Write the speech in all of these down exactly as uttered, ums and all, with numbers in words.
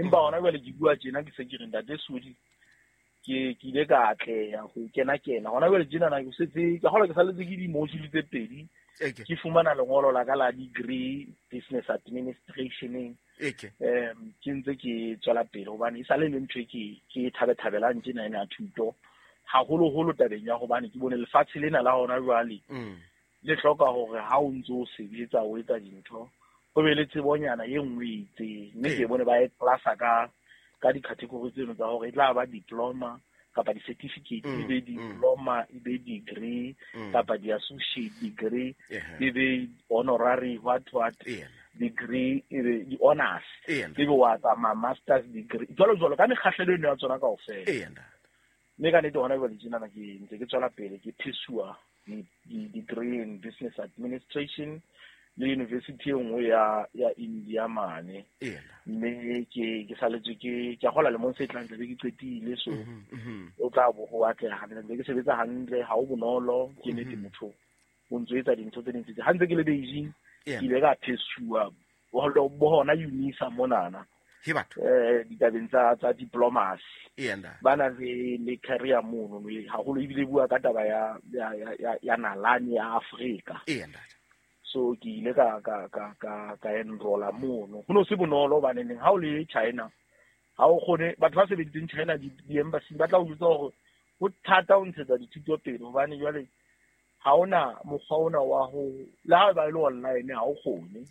Empa hona jwale ke bua tjena ke se ke re ntate Sodi ke ke ile ka atleha ho kena kena. Hona jwale tjena na ke setse ke hola ke saletse ke di-module tse pedi. Ke fumana lengolo la ka la degree business administration. Um ke ntse ke tswela pele hobane e sale le ntho e ke ke thabethabelang tjena ena ya thuto. Haholoholo tabeng ya hobane ke bone lefatshe lena la hona jwale le hloka hore ha o ntso o sebetsa o etsa dintho ho be le tsebonyana e nngwe e itseng. Mme ke bone ba e classa ka ka di-category tseno tsa hore e tla ba diploma kapa di-certificate, e be diploma, e be degree, kapa di-associate degree, e be honorary what what degree, e be di-honors, e be wa tsamaya master's degree, jwalo jwalo ka mekgahlelo eno ya tsona kaofela. Mme ka nnete hona jwale tjenana ke ntse ke tswela pele ke pursue di-degree in business administration le university e nngwe ya ya India mane. Mme ke ke saletswe ke ke a kgola lemong se tlang tlabe ke qetile, so o tla bo ho atleha hantle, ntse ke sebetsa hantle, ha ho bonolo ke nnete motho o ntso etsa dintho tse ding tse. Ha ntse ke le Beijing ke ile ka pursue bo hona UNISA monana eh ditabeng tsa tsa diplomacy. Ba na le le career mono haholo, ebile bua ka taba ya ya ya ya nalane ya Afrika. So ke ile ka ka ka ka ka enrolla mono. Ho no se bonolo hobane neng ha o le China ha o kgone, batho ba sebeditseng China di-embassy ba tla o jwetsa hore ho thata ho ntshetsa dithuto pele hobane jwale ha ona mokgwa ona wa ho le ha ba ile online ha o kgone.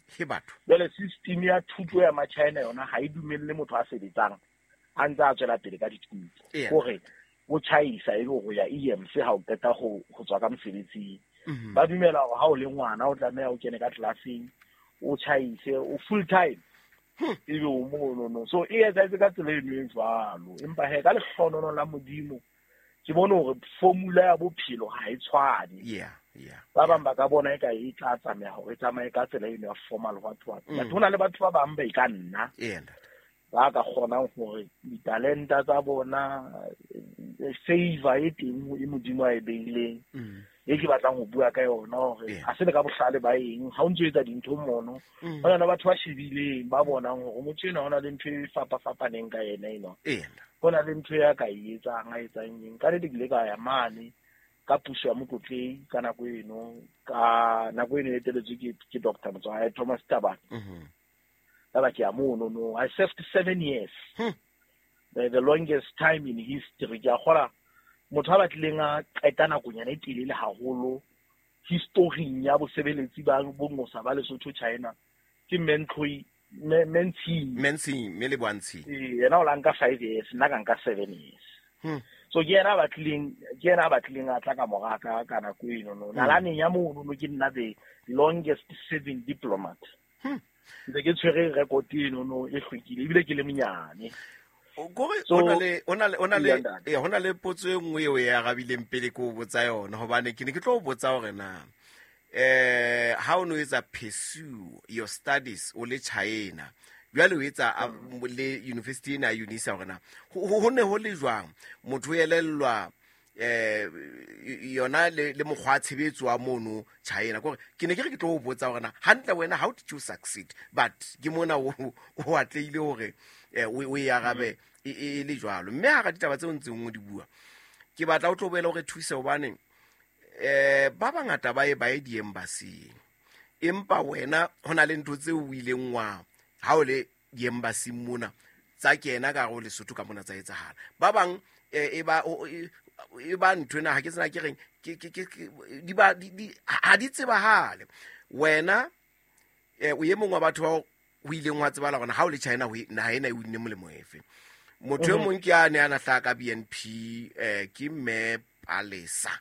Jwale system ya thuto ya ma-China yona ha e dumelle motho a sebetsang a ntse a tswela pele ka dithuto. Hore o tjhaisa e be ho ya E M C ha o qeta ho ho tswa ka mosebetsing. Ba dumela hore ha o le ngwana o tlameha o kene ka classeng o tjhaise o full time ebe o mono no. So e etsahetse ka tsela eno e jwalo. Empa he ka lehlohonolong la Modimo ke bone hore formula ya bophelo ha e tshwane. Yeah, yeah. Ba bang ba ka bona eka e tla tsamaya hore e tsamaye ka tsela eno ya formal what what. But hona le batho ba bang ba e ka nna ba ka kgonang hore ditalenta tsa bona favor e teng e Modimo a e beileng e ke batlang ho bua ka yona hore ha se le ka bohlale ba eng ha o ntso etsa dintho mono. Ho na le batho ba shebileng ba bonang hore motho enwa ho na le ntho e fapafapaneng ka yena eno. Ho na le ntho ya ka e etsang a etsang eng. Ka nnete ke ile ka ya mane ka puso ya Mokotlehi ka nako eno, ka nako eno e eteletswe ke ke Doctor Motswae Thomas Tabane. Ka ba ke ya mono no. I served seven years. The, the longest time in history. Ke a kgola motho a batlileng a qeta nakonyana e telele haholo historing ya bosebeletsi ba bongosa ba Lesotho China ke Mentloi Mentsi Mentsi mme le Boantsi. Eh yena o la nka five years, nna ka nka seven years. So ke yena a batlileng ke yena a batlileng a tla ka mora ka ka nako eno no. Nalaneng ya mono no ke nna the longest serving diplomat. Ntse ke tshwere record eno no e hlwekile ebile ke le monyane. Gore ona le ona le ona le eh hona le potso e nngwe eo e arabileng pele ke o botsa yona hobane ke ne ke tlo o botsa hore na eh ha o no etsa pursue your studies o le China jwale o etsa le university ena ya UNISA hore na ho ne ho le jwang motho o elellwa eh yona le le mokgwa wa tshebetso wa mono China. Kore ke ne ke re ke tlo o botsa hore na hantle wena how did you succeed, but ke mona o o atlehile hore o e arabe e le jwalo. Mme ha ka ditaba tseo ntseng o di bua ke batla o tlo boela hore thuse hobane eh ba bangata ba e ba e di-embassy empa wena hona le ntho tseo o ileng wa ha o le di-embassy mona tsa kena ka hare ho Lesotho ka mona tsa etsahala. Ba bang e ba e ba ntho ena ha ke tsena ke reng ke ke ke di ba di ha di tsebahale. Wena o e mong wa batho bao o ileng wa tsebala hore ha o le China ho naha ena e o nne molemo efe. Motho e mong ke a ne a na hlaha ka B N P eh ke mme Palesa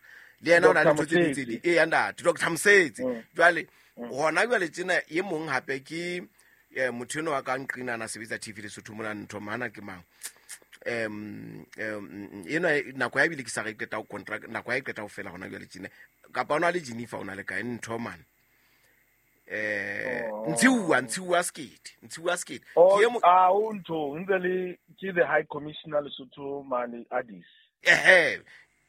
le yena o na le ntho tse ding tse ding e ntate Doctor Mosetse. Jwale hona jwale tjena e mong hape ke motho eno wa ka nqina na sebetsa T V Lesotho mona ntho mana ke mang um um ena nako ya bile ke sa re qeta ho contract nako ya e qeta ho fela hona jwale tjena kapa ona le Jennifer ona le kae ntho man eh Ntshiwa Ntshiwa Skate Ntshiwa Skate ke mo a o ntho ntse le ke the high commissioner Lesotho mane Addis eh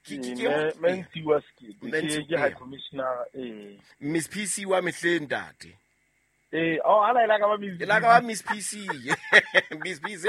ke ke ke Ntshiwa Skate ke high commissioner eh Miss P C wa mehleng ntate eh oh ala ila ka ba Miss ila ka ba Miss P C Miss P C